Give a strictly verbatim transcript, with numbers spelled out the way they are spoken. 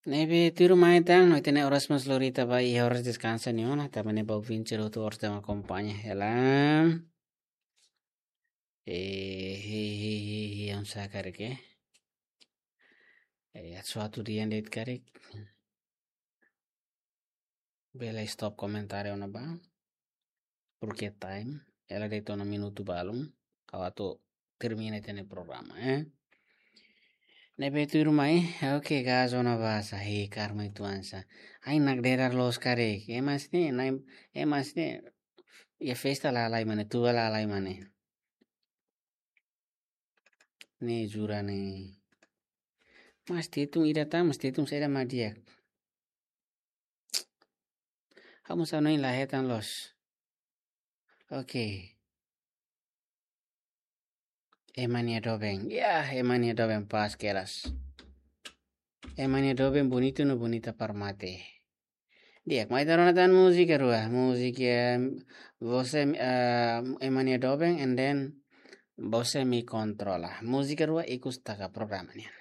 Ne'ebé tuirmai tan, no ita-nia oras mós lori ita ba iha oras deskansa ne'e ona, tanba ne'e ba ouvinte hotu oras atu akompaña hela. Eh, he, he, he, he, oinsá karik, eh? Eh, atu atu di'ak de'it karik. Bele stop komentáriu ona ba. Porque time, hela de'it ona minutu balun. Ha'u atu termina ita-nia programa, eh? Ne'ebé tuirmai, oke, gas ona ba sá, he, karma itu ansa. Ai, nakdedar loos karik. Ema sira-ne'e, nai, ema sira-ne'e, iha festa lalai mak ne'e, tua lalai mak ne'e. Ne'e jura ne'e. Mas Tetun ida tan, Mas Tetun saida mak di'ak. Ha'u mós hanoin la hetan loos. Oke. Ema nia doben. Ya, ema nia doben pas keras. Ema nia doben bonitu no bonita para mate. Di'ak, mai ita rona tan múzika rua. Múzika, eh, Você, eh, Ema nia doben, and then Você me controla. Múzika rua ikus taka programa nian.